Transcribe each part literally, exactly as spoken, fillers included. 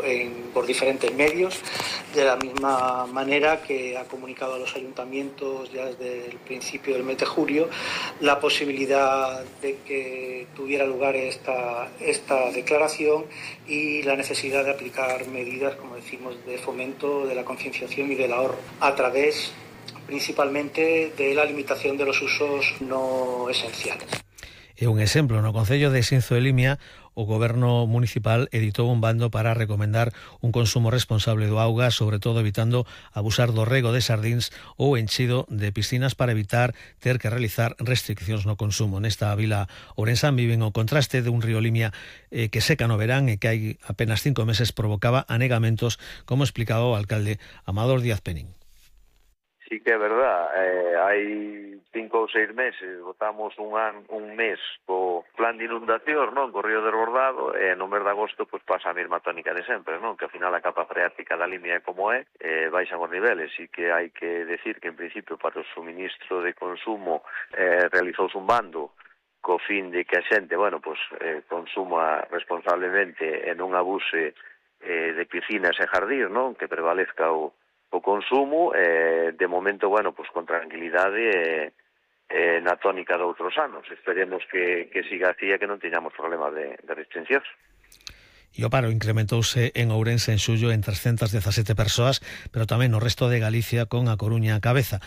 En, por diferentes medios, de la misma manera que ha comunicado a los ayuntamientos ya desde el principio del mes de julio la posibilidad de que tuviera lugar esta, esta declaración y la necesidad de aplicar medidas, como decimos, de fomento de la concienciación y del ahorro a través principalmente de la limitación de los usos no esenciales. E un exemplo, no Concello de Xinzo de Limia, o Goberno Municipal editou un bando para recomendar un consumo responsable do auga, sobre todo evitando abusar do rego de sardíns ou enchido de piscinas para evitar ter que realizar restriccións no consumo. Nesta vila ourensán viven o contraste de un río Limia eh, que seca no verán e que hai apenas cinco meses provocaba anegamentos, como explicaba o alcalde Amador Díaz Penín. Sí que é verdad, eh, hai cinco ou seis meses, votamos un, an, un mes co plan de inundación, non? Co río desbordado, e no mes de agosto pues, pasa a mesma tónica de sempre, non? Que ao final a capa freática da Limia é como é, eh, baixan os niveles, e que hai que decir que en principio para o suministro de consumo eh, realizouse un bando co fin de que a xente, bueno, pues, eh, consuma responsablemente e non abuse eh, de piscinas e jardíns, non? Que prevalezca o o consumo, eh, de momento, bueno, pues con tranquilidade eh, eh, na tónica de outros anos. Esperemos que, que siga así e que non teñamos problemas de, de restriccións. E o paro incrementouse en Ourense en xullo en trescentas dezasete persoas, pero tamén no resto de Galicia con A Coruña a cabeza.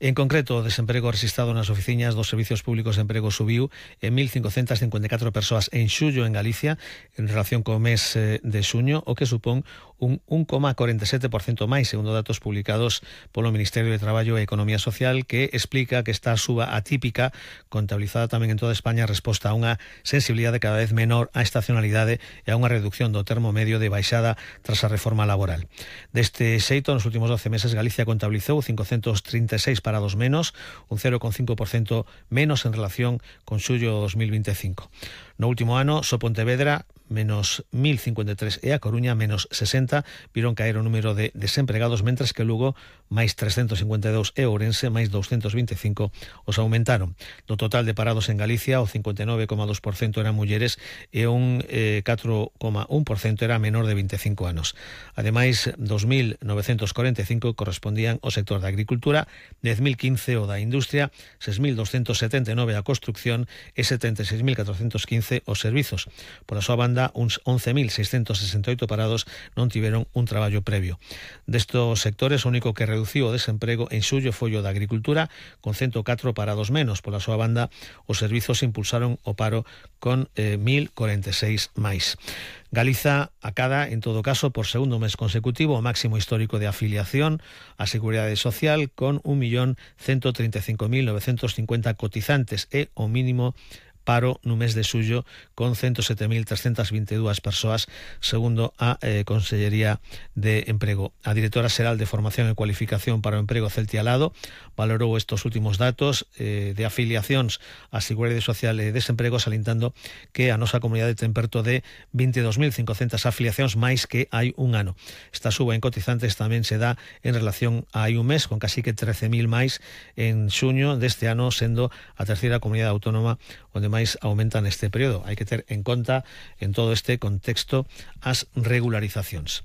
En concreto, o desemprego rexistrado nas oficinas dos Servicios Públicos de Emprego subiu en mil cincocentas cincuenta e catro persoas en xullo en Galicia en relación co mes de xuño, o que supón un un coma corenta e sete por cento máis, segundo datos publicados polo Ministerio de Traballo e Economía Social, que explica que esta suba atípica, contabilizada tamén en toda España, resposta a unha sensibilidade cada vez menor á estacionalidade e a unha reducción do termo medio de baixada tras a reforma laboral. Deste xeito, nos últimos doce meses, Galicia contabilizou cincocentos trinta e seis parados menos, un cero coma cinco por cento menos en relación con xullo dos mil vinte e cinco. No último ano, só Pontevedra, menos mil cincuenta e tres, e a Coruña, menos sesenta, viron caer o número de desempregados, mentres que Lugo, máis trescentos cincuenta e dous, e Ourense, máis doscentos vinte e cinco, os aumentaron. Do total de parados en Galicia, o cincuenta e nove coma dos por cento eran mulleres e un eh, catro coma un por cento era menor de vinte e cinco anos. Ademais, dos mil novecentos corenta e cinco correspondían ao sector da agricultura, dez mil quince o da industria, seis mil doscentos setenta e nove a construcción e setenta e seis mil catrocentos quince os servizos. Por a súa banda, uns once mil seiscentos sesenta e oito parados non tiveron un traballo previo. Destos sectores, o único que reduciu o desemprego en xullo foi o da agricultura, con ciento catro parados menos. Pola súa banda, os servizos impulsaron o paro con eh, mil corenta e seis máis. Galiza acada, en todo caso, por segundo mes consecutivo, o máximo histórico de afiliación á Seguridade Social, con un millón ciento treinta e cinco mil novecentos cincuenta cotizantes e o mínimo paro no mes de xullo con ciento sete mil trescentas vinte e dúas persoas, segundo a eh, Consellería de Emprego. A directora xeral de Formación e Cualificación para o Emprego, Celtia Lado, valorou estos últimos datos eh, de afiliacións á Seguridade Social e Desemprego, salientando que a nosa comunidade ten perto de vinte e dos mil cincocentas afiliacións máis que hai un ano. Esta suba en cotizantes tamén se dá en relación a hai un mes, con casi que trece mil máis en xuño deste ano, sendo a terceira comunidade autónoma onde máis aumenta neste período. Hai que ter en conta en todo este contexto as regularizacións.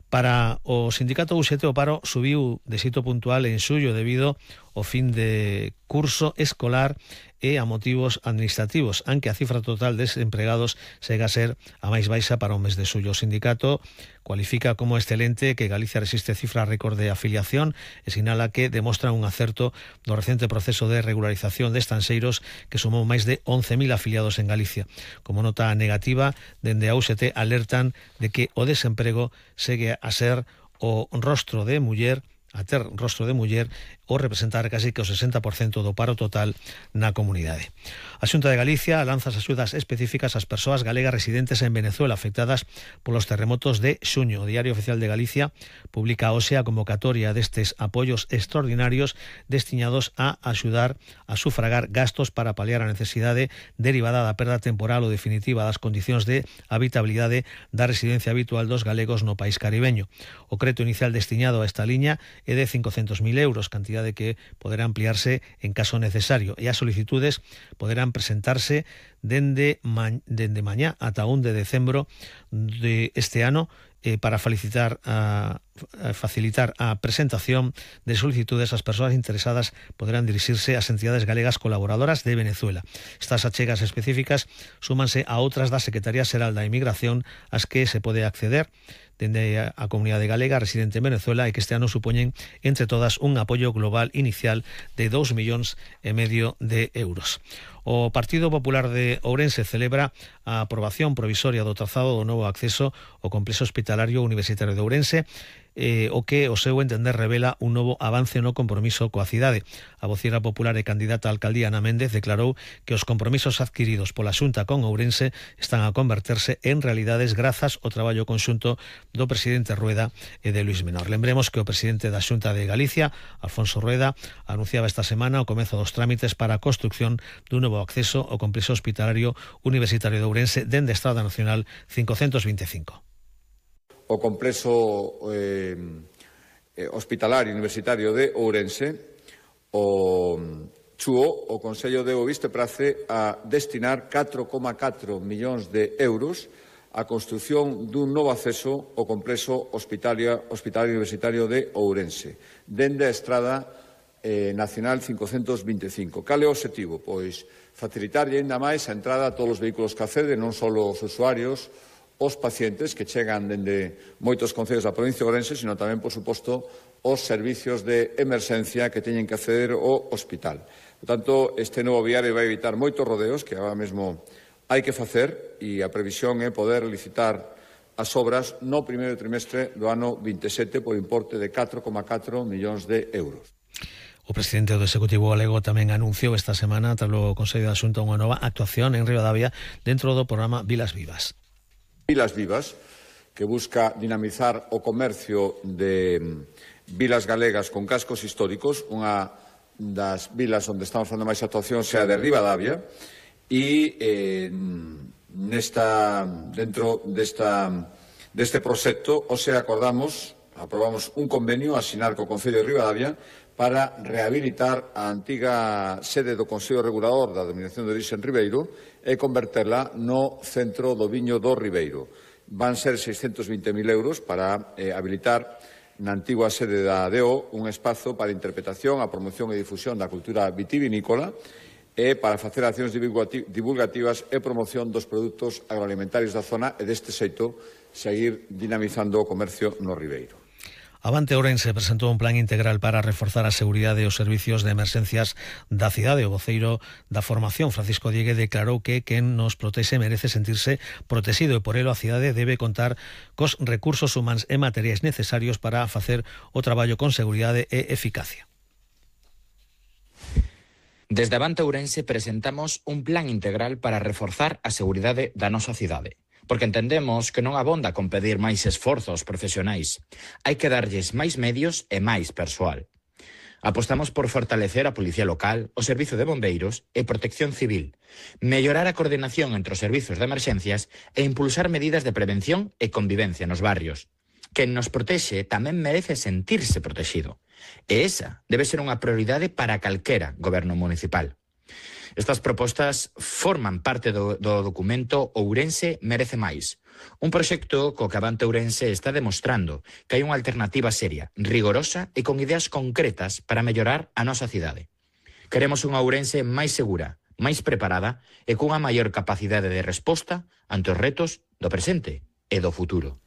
Para o sindicato U S T, o paro subiu de xeito puntual en xullo debido ao fin de curso escolar e a motivos administrativos, aunque a cifra total de desempregados sega a ser a máis baixa para o mes de xullo. O sindicato cualifica como excelente que Galicia resiste cifra récord de afiliación e sinala que demostra un acerto do recente proceso de regularización de estanxeiros que sumou máis de once mil afiliados en Galicia. Como nota negativa, dende a U S T alertan de que o desemprego segue a ser o rostro de muller a ter rostro de muller ou representar casi que o sesenta por cento do paro total na comunidade. A Xunta de Galicia lanza as axudas específicas ás persoas galegas residentes en Venezuela afectadas polos terremotos de xuño. O Diario Oficial de Galicia publica hoxe a convocatoria destes apoios extraordinarios destinados a axudar a sufragar gastos para paliar a necesidade derivada da perda temporal ou definitiva das condicións de habitabilidade da residencia habitual dos galegos no país caribeño. O creto inicial destinado a esta liña é de cincocentos mil euros, cantidade que poderá ampliarse en caso necesario, e as solicitudes poderán presentarse dende, ma, dende mañá ata un de decembro de este ano eh, para felicitar a, a facilitar a presentación de solicitudes. As persoas interesadas poderán dirixirse ás entidades galegas colaboradoras de Venezuela. Estas achegas específicas súmanse a outras da Secretaría Xeral da Inmigración ás que se pode acceder dende a comunidade galega residente en Venezuela e que este ano supoñen entre todas un apoio global inicial de dous millóns e medio de euros. O Partido Popular de Ourense celebra a aprobación provisoria do trazado do novo acceso ao complexo hospitalario universitario de Ourense, eh, o que, o seu entender, revela un novo avance no compromiso coa cidade. A voceira popular e candidata á alcaldía Ana Méndez declarou que os compromisos adquiridos pola Xunta con Ourense están a converterse en realidades grazas ao traballo conxunto do presidente Rueda e de Luís Menor. Lembremos que o presidente da Xunta de Galicia, Alfonso Rueda, anunciaba esta semana o comezo dos trámites para a construción dun novo acceso ao complexo hospitalario universitario de Ourense dende a Estrada Nacional cincocentos veinticinco. O complexo eh, hospitalario universitario de Ourense, o chuo, o Consello deu o visteprace a destinar catro coma catro millóns de euros a construción dun novo acceso ao complexo hospitalario, hospitalario universitario de Ourense, dende a Estrada eh, Nacional cincocentos veinticinco. Cal é o obxectivo? Pois facilitarlle ainda máis a entrada a todos os vehículos que acceden, non só os usuarios, os pacientes que chegan dende moitos concellos da provincia de Ourense, sino tamén, por suposto, os servicios de emerxencia que teñen que acceder ao hospital. Por tanto, este novo viario vai evitar moitos rodeos que agora mesmo hai que facer, e a previsión é poder licitar as obras no primeiro trimestre do ano veintisiete por importe de catro coma catro millóns de euros. O presidente do Executivo galego tamén anunciou esta semana, tras o Consello da Xunta, unha nova actuación en Ribadavia dentro do programa Vilas Vivas. Vilas Vivas, que busca dinamizar o comercio de vilas galegas con cascos históricos. Unha das vilas onde estamos facendo máis actuación sea de Ribadavia, e eh, nesta, dentro desta, deste proxecto, o sea, acordamos, aprobamos un convenio a asinar co Concello de Ribadavia para rehabilitar a antiga sede do Consello Regulador da Denominación de Orixe en Ribeiro e converterla no centro do viño do Ribeiro. Van ser seiscentos vinte mil euros para eh, habilitar na antigua sede da D O un espazo para interpretación, a promoción e difusión da cultura vitivinícola e para facer accións divulgativas e promoción dos produtos agroalimentarios da zona e deste xeito seguir dinamizando o comercio no Ribeiro. Avante Ourense presentou un plan integral para reforzar a seguridade e os servicios de emerxencias da cidade. O voceiro da formación, Francisco Diegue, declarou que quen nos protexe merece sentirse protegido e por elo a cidade debe contar cos recursos humanos e materiais necesarios para facer o traballo con seguridade e eficacia. Desde Avante Ourense presentamos un plan integral para reforzar a seguridade da nosa cidade. Porque entendemos que non abonda con pedir máis esforzos profesionais. Hai que darlles máis medios e máis persoal. Apostamos por fortalecer a Policía Local, o Servizo de Bombeiros e Protección Civil, mellorar a coordinación entre os servizos de emerxencias e impulsar medidas de prevención e convivencia nos barrios. Quen nos protexe tamén merece sentirse protexido. E esa debe ser unha prioridade para calquera goberno municipal. Estas propostas forman parte do, do documento Ourense merece máis. Un proxecto co que Avante Ourense está demostrando que hai unha alternativa seria, rigorosa e con ideas concretas para mellorar a nosa cidade. Queremos unha Ourense máis segura, máis preparada e cunha maior capacidade de resposta ante os retos do presente e do futuro.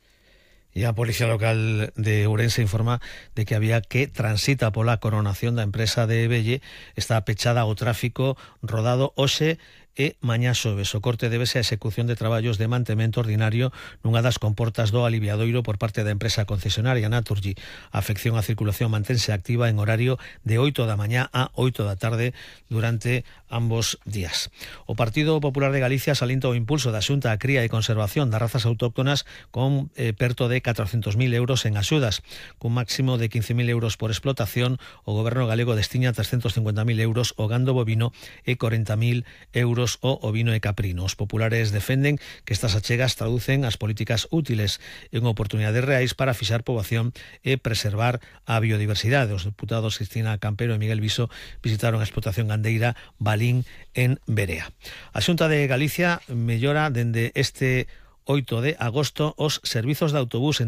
E a Policía Local de Ourense informa de que había que transita pola coronación da empresa de Belle está pechada ao tráfico rodado hoxe e mañá xoves. O corte débese á execución de traballos de mantemento ordinario nunha das comportas do aliviadoiro por parte da empresa concesionaria Naturgy. A afección á circulación mantense activa en horario de oito da mañá a oito da tarde durante ambos días. O Partido Popular de Galicia salienta o impulso da Xunta a cría e conservación das razas autóctonas con eh, perto de catrocentos mil euros en axudas. Cun máximo de quince mil euros por explotación, o goberno galego destina trescentos cincuenta mil euros ao gando bovino e corenta mil euros lácteos o ovino e caprino. Os populares defenden que estas achegas traducen as políticas útiles en oportunidades reais para fixar poboación e preservar a biodiversidade. Os deputados Cristina Campero e Miguel Viso visitaron a explotación gandeira Balín en Berea. A Xunta de Galicia mellora dende este oito de agosto os servizos de autobús entre